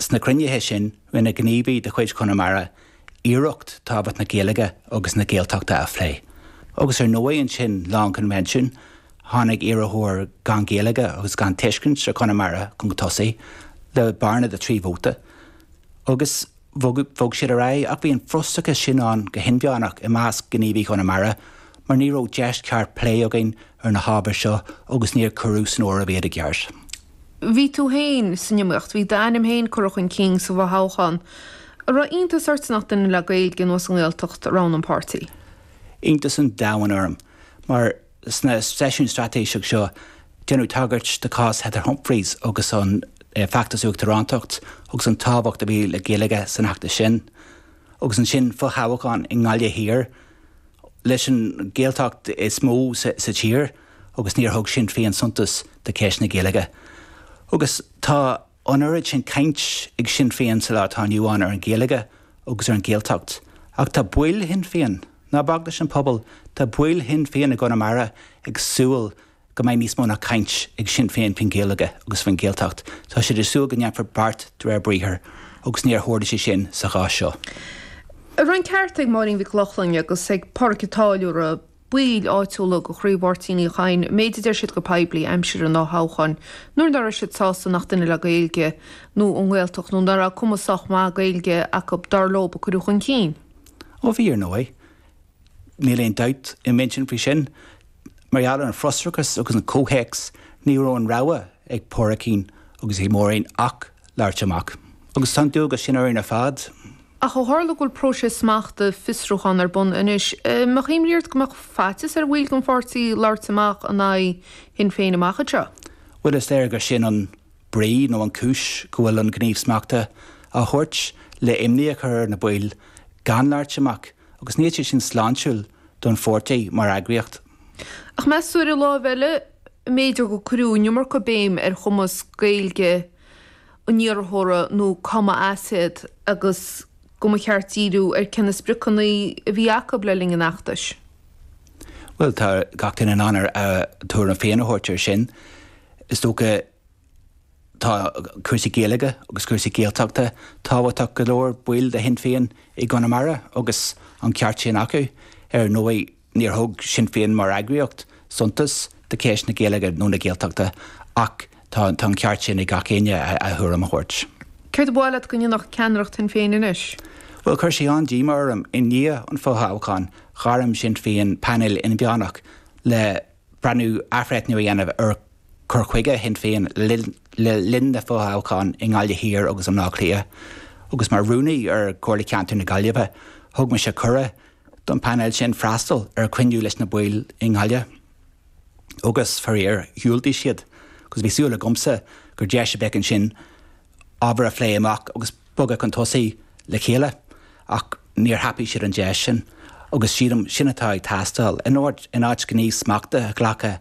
Sna cruinnithe sin, rinne gníomhaí de chuid Chonamara iarracht tábhacht na Gaeilge agus na Gaeltachta a phlé. Agus ar ndóigh ansin, lá an choinbhinsiúin, tháinig iarrthóir gan Gaeilge agus gan tuiscint ar Chonamara chun tosaigh le bearna de thrí vóta. Agus bhog siad ar aghaidh ach bhí an frustrachas sin ann go hinmheánach i measc gníomhaithe Chonamara mar ní raibh deis cheart plé againn ar na hábhair seo agus níor cuireadh san áireamh iad i gceart. Bhí tú féin san iomaíocht, bhí d'ainm féin curtha chun cinn sa bhfothoghchán. An raibh iontas ort nach duine le Gaeilge nó as an nGaeltacht a roghnaigh an páirtí? Iontas an domhain orm mar Sna seisiúin straitéiseach seo, déanadh tagairt do chás Heather Humphreys agus an feachtas uachtarántacht agus an tábhacht a bhí le Gaeilge san fheachtas sin. Agus ansin fothoghchán i nGaillimh Thiar, leis an Ghaeltacht is mó sa tír agus níor thug Sinn Féin suntas do cheist na Gaeilge. Agus tá an oiread sin caint ag Sinn Féin sa lá atá inniu ann ar an Ghaeilge agus ar an Ghaeltacht. Ach tá baill Shinn Féin, ná bac leis an pobal, tá baill Shinn Féin i gConamara ag súil go mbeidh níos mó ná caint ag Sinn Féin faoin Ghaeilge agus faoin Ghaeltacht. Tá siad ag súil go ndéanfar beart de réir briathair agus níor tharla sé sin sa chás seo. An raibh an ceart ag Máirín Mhic Lochlainn agus ag Pádraic an Táilliúra baill áitiúla de chraobh Mháirtín Uí Chadhain, an méid a deir siad go poiblí aimsir an dá thoghchán, nuair nach raibh siad sásta nach duine le Gaeilge nó ón nGaeltacht nó nach raibh cuma sách maith Gaeilge acu, dar leo, a cuireadh chun cinn. Ó bhí, ar ndóigh. Níl aon dabht i m'intinn faoi sin. Mar gheall ar an bhfrustrachas agus an comhthéacs, ní raibh aon rogha ag Pádraicín agus ag Máirín ach labhairt amach. Agus tá an dualgas sin orainn ar fad. Ach ó tharla go bhfuil próiseas smachta, fiosrúchán ar bun anois, an mbeadh imní ort go mbeadh faitíos ar bhaill den pháirtí labhairt amach in aghaidh Shinn Féin amach anseo? Bhuel, is léir gur sin an brí nó an cúis go bhfuil an gníomh smachta á thabhairt, le imní a chur ar na baill gan labhairt amach, agus níl sé sin sláintiúil don pháirtí mar eagraíocht. Ach meas tú ar an láimh eile, an mb'fhéidir gur cuireadh an iomarca béim ar chumas Gaeilge an iarrthóra nó cá mba as iad agus go mba cheart díriú ar cé na spriocanna a bhí acu le linn an fheachtais. Bhuel, tá gach duine in ann a tuairim féin a thabhairt air sin. Is dócha tá cúrsaí Gaeilge agus cúrsaí Gaeltachta tábhachtach go leor baill de Shinn Féin i gConamara agus an ceart sin acu. Ar ndóigh, Níor thug Sinn Féin mar eagraíocht suntas do cheist na Gaeilge nó na Gaeltachta ach tá an ceart sin ag gach éinne a thuairim a thabhairt. Céard ba mhaith leat go ndéanfadh ceannaireacht Shinn Féin anois? Bhuel, chuir sé an-díomá orm. I ndiaidh an fhothoghcháin, ghairm Sinn Féin painéal inmheánach le breathnú, athbhreithniú a dhéanamh ar chur chuige Shinn Féin le linn na fothoghchán i nGaillimh Thiar agus i mBleá Cliath. Agus mar rúnaí ar Chomhairle Ceantair na Gaillimhe, thug mise cuireadh don phainéal sin freastal ar chruinniú leis na baill i nGaillimh agus, faraor, dhiúltaigh siad agus bhí súil agamsa gur deis a bheadh ansin ábhar a phlé amach agus bogadh chun tosaigh le chéile ach níor thapaigh siad an deis sin agus sílim sin atá ag teastáil. In áit gníomh smachta a ghlacadh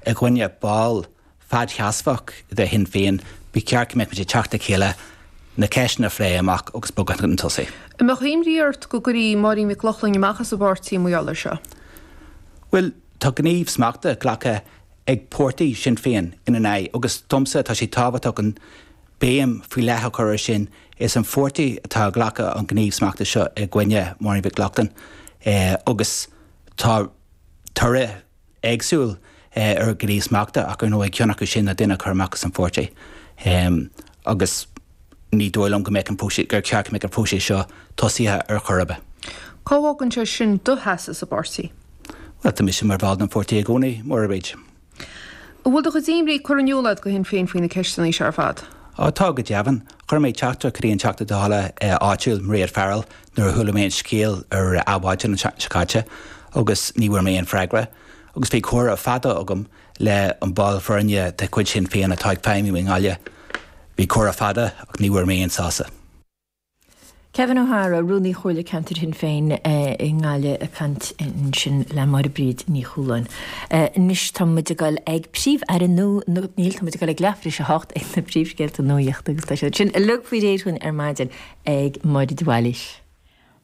i gcoinne ball fadsheasmhach de Shinn Féin, ba cheart go mbeadh muid ag teacht le chéile, na ceisteanna a phlé amach agus bogadh chun tosaigh. An mbeadh imní ort go gcuirfí Máirín Mhic Lochlainn amach as an bpáirtí mar gheall air seo? Bhuel, tá gníomh smachta glactha ag páirtí Shinn Féin ina n-aghaidh agus domsa tá sé tábhachtach an béim faoi leith a chur air sin. Is an pháirtí atá ag glacadh an gníomh smachta seo i gcoinne Máirín Mhic Lochlainn agus tá toradh éagsúil ar ghníomh smachta ach ar ndóigh ceann acu sin ná duine a chur amach as an pháirtí agus ní dóigh liom go mbeadh an próiseas, gur cheart go mbeadh an próiseas seo tosaithe ar chor ar bith. Cá bhfágann sé sin do sheasamh sa bpáirtí? Bhuel, tá mise mar bhall den pháirtí i gcónaí, Máire Bríd. An bhfuil do chuid imní curtha in iúl agat go Shinn Féin faoi na ceisteanna seo ar fad? Á, tá, go deimhin. Chuir mé teachtaireacht go dtí an Teachta Dála áitiúil, Mairéad Farrell, nuair a chuala mé an scéal ar Adhmhaidin an tseachtain seo caite agus ní bhfuair mé aon freagra. Agus bhí comhrá fada agam le an ball foirne de chuid Shinn Féin atá ag feidhmiú i nGaillimh. Bhí comhrá fada ach ní bhfuair mé aon sásamh. Kevin O'Hara, Rúnaí Chomhairle Ceantair Shinn Féin i nGaillimh ag caint ansin le Máire Bríd Ní Chualáin. Anois tá muid ag dul ag Príomh-Aire nó níl, tá muid ag dul ag leathuair tar éis a hocht ag na príomhscéalta nuachta agus tá siad sin uilig faoi réir dhúinn ar maidin ag Máire de Bhailís.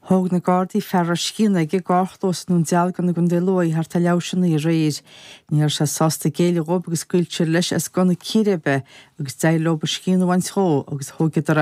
Thóg na Gardaí fear a raibh scian aige i gcarrchlós i nDún Dealgan i gContae Lú thart ar leathuair tar éis a naoi aréir. Ní raibh sé sásta géilleadh dhóibh agus scaoil siad leis as gunna círéibe agus d'éirigh leo a scian a bhaint dhó agus thóigeadar é.